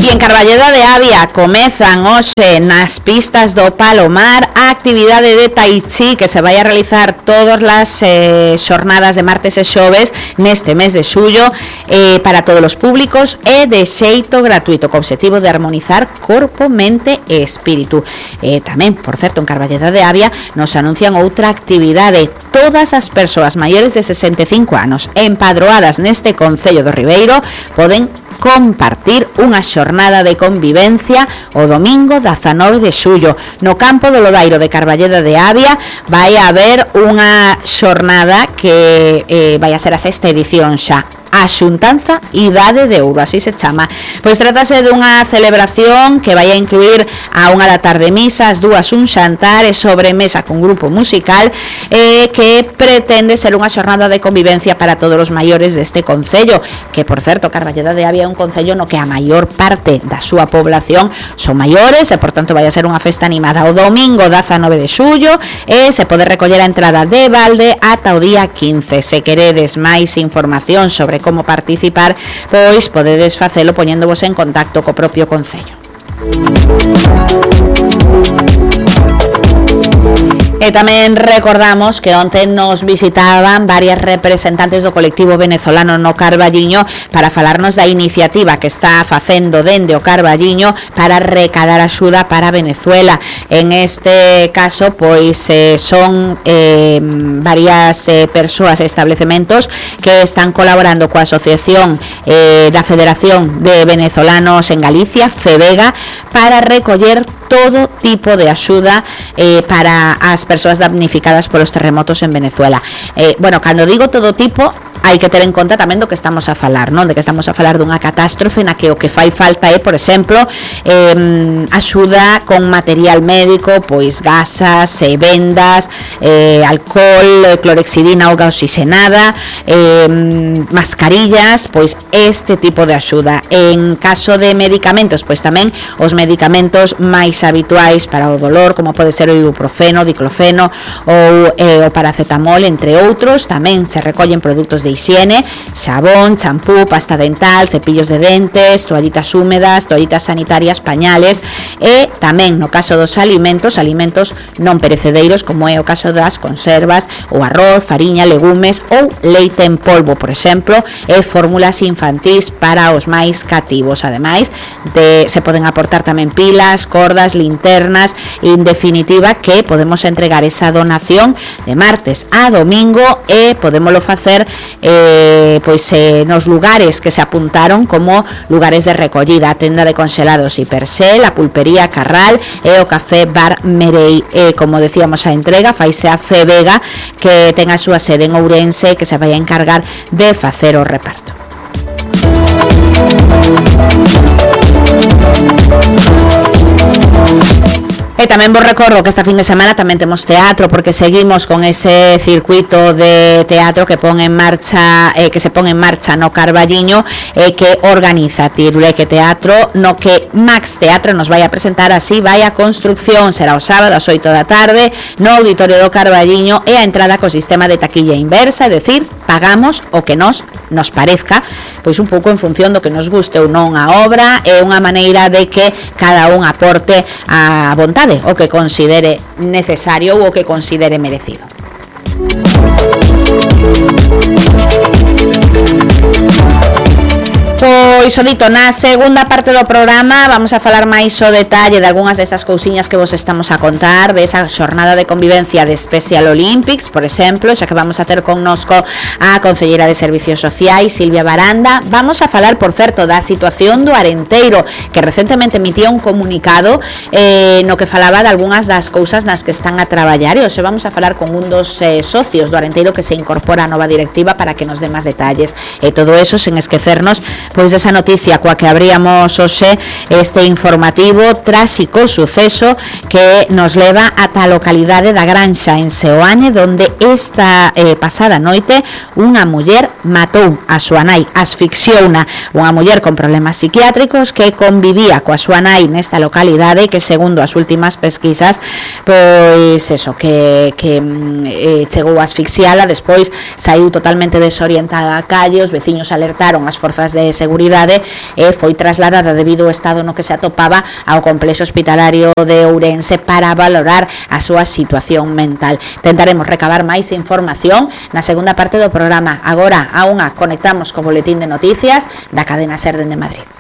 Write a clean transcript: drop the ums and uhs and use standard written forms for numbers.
en Carballeda de Avia comezan hoxe nas pistas do Palomar a actividade de Tai Chi que se vai a realizar todas as xornadas de martes e xoves neste mes de xullo para todos os públicos e de xeito gratuito, co obxectivo de armonizar corpo, mente e espírito. Tamén, por certo, en Carballeda de Avia nos anuncian outra actividade. Todas as persoas maiores de 65 anos empadroadas neste concello do Ribeiro poden compartir unha xornada de convivencia o domingo 19 de xullo no campo do Lodairo de Carballeda de Avia. Vai haber unha xornada que vai a ser a sexta edición xa, a xuntanza Idade de Ouro, así se chama. Pois trátase dunha celebración que vai a incluir a unha da tarde misa, as dúas un xantar e sobremesa con grupo musical que pretende ser unha xornada de convivencia para todos os maiores deste concello, que por certo Carballeda de Avia é un concello no que a maior parte da súa población son maiores e por tanto vai a ser unha festa animada o domingo 19 de xullo e se pode recoller a entrada de balde ata o día 15. Se queredes máis información sobre como participar, pois podedes facelo poñéndovos en contacto co propio concello. E tamén recordamos que onte nos visitaban varias representantes do colectivo venezolano no Carballiño para falarnos da iniciativa que está facendo dende o Carballiño para recadar axuda para Venezuela. En este caso, pois son varias persoas e establecementos que están colaborando coa asociación da Federación de Venezolanos en Galicia, FEVEGA, para recoller todo tipo de axuda para as persoas damnificadas polos terremotos en Venezuela. Bueno, cando digo todo tipo, hai que ter en conta tamén do que estamos a falar, non? De que estamos a falar dunha catástrofe na que o que fai falta é, por exemplo, axuda con material médico, pois gasas, vendas, alcohol, clorexidina, auga oxigenada, mascarillas, pois este tipo de axuda. En caso de medicamentos, pois tamén os medicamentos máis habituais para o dolor, como pode ser o ibuprofeno, diclofeno ou o paracetamol, entre outros. Tamén se recollen produtos de higiene, xabón, champú, pasta dental, cepillos de dentes, toallitas húmedas, toallitas sanitarias, pañales e tamén no caso dos alimentos non perecedeiros, como é o caso das conservas, o arroz, fariña, legumes ou leite en polvo, por exemplo, e fórmulas infantís para os máis cativos. Ademais, se poden aportar tamén pilas, cordas, linternas, en definitiva que podemos entregar esa donación de martes a domingo e podémolo facer nos lugares que se apuntaron como lugares de recollida, a tenda de congelados Hiperxel, a pulpería Carral e o café Bar Merei. Como decíamos, a entrega faise a FEVEGA, que ten a súa sede en Ourense, que se vai a encargar de facer o reparto. E tamén vos recordo que esta fin de semana tamén temos teatro, porque seguimos con ese circuito de teatro que pon en marcha que se pon en marcha no Carballiño que organiza Tiruleque Teatro, no que Max Teatro nos vai a presentar Así vai a construcción. Será o sábado ás 8 da tarde no Auditorio do Carballiño e a entrada co sistema de taquilla inversa, é dicir, pagamos o que nos parezca, pois un pouco en función do que nos guste ou non a obra. É unha maneira de que cada un aporte a vontade o que considere necesario ou o que considere merecido. Pois o dito, na segunda parte do programa vamos a falar máis o detalle de algunhas destas cousiñas que vos estamos a contar, de esa xornada de convivencia de Special Olympics, por exemplo, xa que vamos a ter connosco a concelleira de Servicios Sociais, Silvia Baranda. Vamos a falar, por certo, da situación do Arenteiro, que recentemente emitía un comunicado no que falaba de algunhas das cousas nas que están a traballar, e hoxe vamos a falar con un dos socios do Arenteiro que se incorpora a nova directiva para que nos dé máis detalles. E todo eso sen esquecernos pois desa noticia coa que abríamos hoxe este informativo, tráxico suceso que nos leva ata a localidade da Granxa en Seoane, donde esta pasada noite unha muller matou a súa nai, asfixiouna, unha muller con problemas psiquiátricos que convivía coa súa nai nesta localidade, que segundo as últimas pesquisas pois eso, que chegou a asfixiala, despois saiu totalmente desorientada á calle, os veciños alertaron as forzas de seguridade e foi trasladada debido ao estado no que se atopaba ao complexo hospitalario de Ourense para valorar a súa situación mental. Tentaremos recabar máis información na segunda parte do programa. Agora, a unha, conectamos co boletín de noticias da cadena SER dende Madrid.